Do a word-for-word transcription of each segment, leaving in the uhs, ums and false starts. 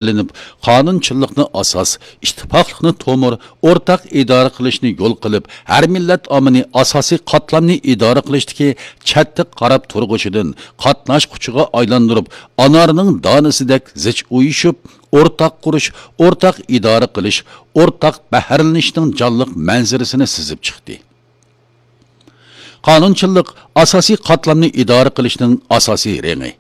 ئېلىنىپ، قانۇنچىللىقنى ئاساس، ئىتتىپاقلىقنى تومۇر، ئورتاق ئىدارە قىلىشنى يول قىلىپ، ھەر مىللەت ئاممىنى ئاساسىي قاتلامنى ئىدارە قىلىشتىكى چەتتە قاراپ تۇرغۇچىدىن قاتناشقۇچىغا ئايلاندۇرۇپ، ئانارنىڭ دانىسىدەك زىچ ئۇيۇشۇپ، ئورتاق قۇرۇش، ئورتاق ئىدارە قىلىش، ئورتاق بەھرىلىنىشنىڭ جانلىق مەنزىرىسىنى سىزىپ چىقتى. قانۇنچىللىق ئاساسىي قاتلامنى ئىدارە قىلىشنىڭ ئاساسىي رېڭى.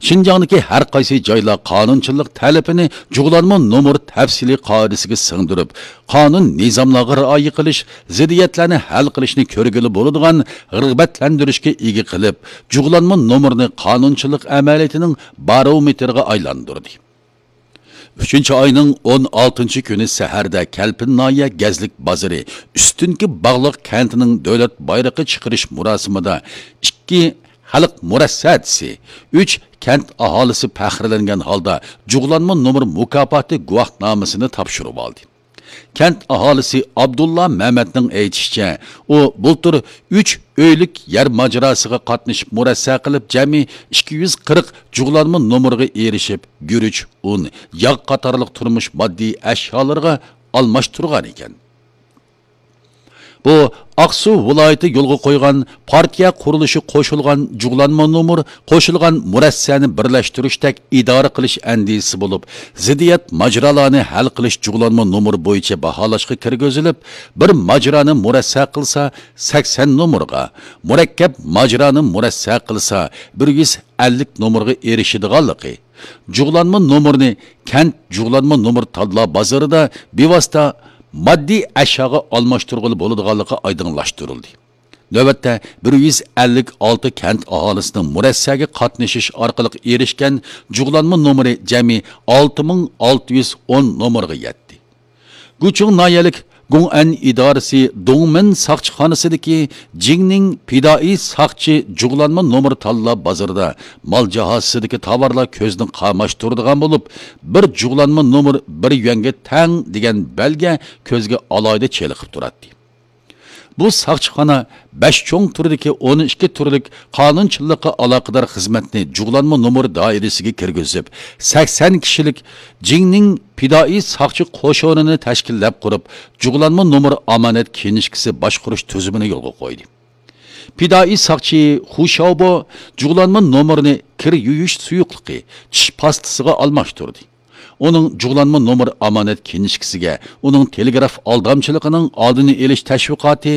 شىنجاڭدىكى ھەر قايسى جايلار قانۇنچىللىق تەلىپىنى جۇغلانما نومۇر تەپسىلىي قائىدىسىگە سىڭدۈرۈپ، قانۇن نىزاملارغا رىئايە قىلىش، زىددىيەتلەرنى ھەل قىلىشنى كۆرگىلى بولىدىغان رىغبەتلەندۈرۈشكە ئىگە قىلىپ، جۇغلانما نومۇرنى قانۇنچىللىق ئەمەلىيىتىنىڭ بارومېتىرىغا ئايلاندۇردى. ئۈچىنچى ئاينىڭ ئون ئالتىنچى كۈنى سەھەردە كەلپىن ناھىيە گەزلىك بازىرى ئۈستۈنكى باغلىق كەنتىنىڭ دۆلەت بايرىقى چىقىرىش مۇراسىمىدا ئىككى خەلق مۇرەسسەسى، ئۈچ كەنت ئاھالىسى پەخىرلەنگەن ھالدا جۇغلانما نومۇر مۇكاپاتى گۇۋاھنامىسىنى تاپشۇرۇۋالدى. كەنت ئاھالىسى ئابدۇللا مەمەتنىڭ ئېيتىشىچە، ئۇ بۇلتۇر ئۈچ ئۆيلۈك يەر ماجىراسىغا قاتنىشىپ مۇرەسسە قىلىپ، جەمئىي ئىككى يۈز قىرىق جۇغلانما نومۇرغا ئېرىشىپ، گۈرۈچ، ئۇن، ياغ قاتارلىق تۇرمۇش ماددىي ئەشيالىرىغا ئالماشتۇرغان ئىكەن. بۇ ئاقسۇ ۋىلايىتى يولغا قويغان پارتىيە قۇرۇلۇشى قوشۇلغان جۇغلانما نومۇر، قوشۇلغان مۇرەسسەنى بىرلەشتۈرۈشتەك ئىدارە قىلىش ئەندىزىسى بولۇپ، زىددىيەت ماجىرالارنى ھەل قىلىش جۇغلانما نومۇر بويىچە باھالاشقا كىرگۈزۈلۈپ، بىر ماجىرانى مۇرەسسە قىلسا سەكسەن نومۇرغا، مۇرەككەپ ماجىرانى مۇرەسسە قىلسا بىر يۈز ئەللىك نومۇرغا ئېرىشىدىغانلىقى، جۇغلانما نومۇرنى كەنت جۇغلانما نومۇر تاللا بازىرىدا بىۋاسىتە ماددىي ئەشياغا ئالماشتۇرغىلى بولىدىغانلىقى ئايدىڭلاشتۇرۇلدى. نۆۋەتتە بىر يۈز ئەللىك ئالتە كەنت ئاھالىسىنىڭ مۇرەسسەگە قاتنىشىش ئارقىلىق ئېرىشكەن جۇغلانما نومۇرى جەمئىي ئالتە مىڭ ئالتە يۈز ئون نومۇرغا يەتتى. گۇچۇڭ ناھىيەلىك گۇڭئەن ئىدارىسى دۇڭمىن ساقچىخانىسىدىكى جىڭنىڭ پىدائىي ساقچى جۇغلانما نومۇر تاللا بازىرىدا مال جاھازىسىدىكى تاۋارلار كۆزنى قاماشتۇرىدىغان بولۇپ، بىر جۇغلانما نومۇر بىر يۈەنگە تەڭ دېگەن بەلگە كۆزگە ئالاھىدە چېلىقىپ تۇراتتى. بۇ ساقچىخانا بەش چوڭ تۈردىكى ئون ئىككى تۈرلۈك قانۇنچىللىققا ئالاقىدار خىزمەتنى جۇغلانما نومۇر دائىرىسىگە كىرگۈزۈپ، سەكسەن كىشىلىك جىڭنىڭ پىدائىي ساقچى قوشۇنىنى تەشكىللەپ قۇرۇپ، جۇغلانما نومۇر ئامانەت كىنىشكىسى باشقۇرۇش تۈزۈمىنى يولغا قويدى. پىدائىي ساقچى خۇ شياۋبو جۇغلانما نومۇرنى كىر يۇيۇش سۇيۇقلۇقى، چىش پاستىسىغا ئالماشتۇردى. ئۇنىڭ جۇغلانما نومۇر ئامانەت كىنىشكىسىگە ئۇنىڭ تېلېگراف ئالدامچىلىقىنىڭ ئالدىنى ئېلىش تەشۋىقاتى،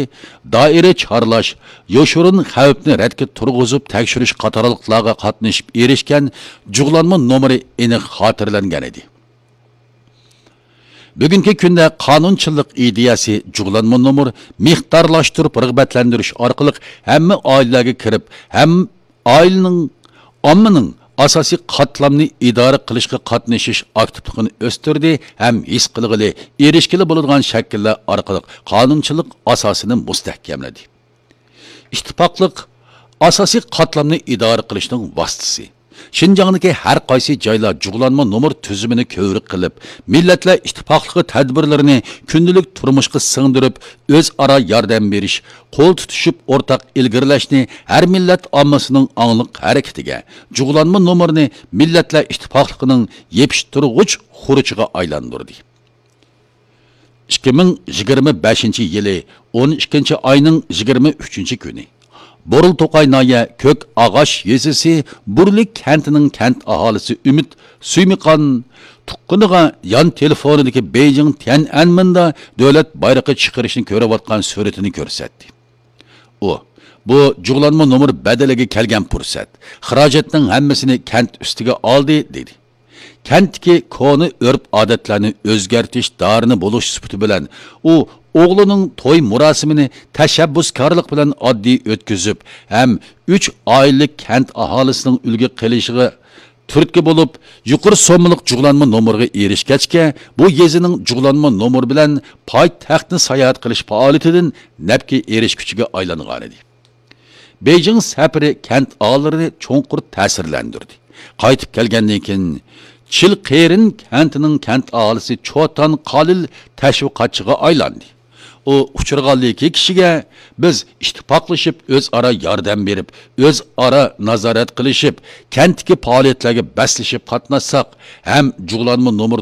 دائىرە چارلاش، يوشۇرۇن خەۋپنى رەتكە تۇرغۇزۇپ تەكشۈرۈش قاتارلىقلارغا قاتنىشىپ ئېرىشكەن جۇغلانما نومۇرى ئېنىق خاتىرىلەنگەن ئىدى. بۈگۈنكى كۈندە قانۇنچىللىق ئىدىيەسى جۇغلانما نومۇر مىقدارلاشتۇرۇپ رىغبەتلەندۈرۈش ئارقىلىق ھەممە ئائىلىلەرگە كىرىپ، ھەم ئائىلىنىڭ، ئاممىنىڭ ئاساسىي قاتلامنى ئىدارە قىلىشقا قاتنىشىش ئاكتىپلىقىنى ئۆستۈردى ھەم ھېس قىلغىلى، ئېرىشكىلى بولىدىغان شەكىللەر ئارقىلىق قانۇنچىلىق ئاساسىنى مۇستەھكەملىدى. ئىتتىپاقلىق ئاساسىي قاتلامنى ئىدارە قىلىشنىڭ ۋاسىتىسى. شىنجاڭدىكى ھەر قايسى جايلار جۇغلانما نومۇر تۈزۈمىنى كۆۋرۈك قىلىپ، مىللەتلەر ئىتتىپاقلىقى تەدبىرلىرىنى كۈندىلىك تۇرمۇشقا سىڭدۈرۈپ، ئۆزئارا ياردەم بېرىش، قول تۇتۇشۇپ ئورتاق ئىلگىرىلەشنى ھەر مىللەت ئاممىسىنىڭ ئاڭلىق ھەرىكىتىگە، جۇغلانما نومۇرنى مىللەتلەر ئىتتىپاقلىقىنىڭ يېپىشتۇرغۇچ خۇرۇچىغا ئايلاندۇردى. ئىككى مىڭ يىگىرمە بەشىنچى يىلى ئون ئىككىنچى ئاينىڭ يىگىرمە ئۈچىنچى كۈنى بورۇلتوقاي ناھىيە كۆك ئاغاش يېزىسى بۇرلى كەنتىنىڭ كەنت ئاھالىسى ئۈمىد سۈيمىقان تۇغقىنىغا يان تېلېفونىدىكى بېيجىڭ تيەنئەنمېندا دۆلەت بايرىقى چىقىرىشنى كۆرۈۋاتقان سۈرىتىنى كۆرسەتتى. ئۇ، «بۇ جۇغلانما نومۇر بەدىلىگە كەلگەن پۇرسەت، خىراجەتنىڭ ھەممىسىنى كەنت ئۈستىگە ئالدى» دېدى. كەنتتىكى كونا ئۆرپ-ئادەتلەرنى ئۆزگەرتىش دارىنى بولۇش سۈپىتى بىلەن، ئۇ ئوغلىنىڭ توي مۇراسىمىنى تەشەببۇسكارلىق بىلەن ئاددىي ئۆتكۈزۈپ ھەم ئۈچ ئائىلىلىك كەنت ئاھالىسىنىڭ ئۈلگە قىلىشىغا تۈرتكە بولۇپ، يۇقىرى سوممىلىق جۇغلانما نومۇرغا ئېرىشكەچكە، بۇ يېزىنىڭ جۇغلانما نومۇر بىلەن پايتەختنى ساياھەت قىلىش پائالىيىتىدىن نەپكە ئېرىشكۈچىگە ئايلانغانىدى. بېيجىڭ سەپىرى كەنت ئاھالىلىرىنى چوڭقۇر تەسىرلەندۈردى. قايتىپ كەلگەندىن كېيىن، چىلقېرىن كەنتىنىڭ كەنت ئاھالىسى چوتان قالىل تەشۋىقاتچىغا ئايلاندى. ئۇ ئۇچرىغانلىكى كىشىگە بىز ئىتتىپاقلىشىپ، ئۆزئارا ياردەم بېرىپ، ئۆزئارا نازارەت قىلىشىپ، كەنتتىكى پائالىيەتلەرگە بەسلىشىپ قاتناشساق ھەم جۇغلانما نومۇر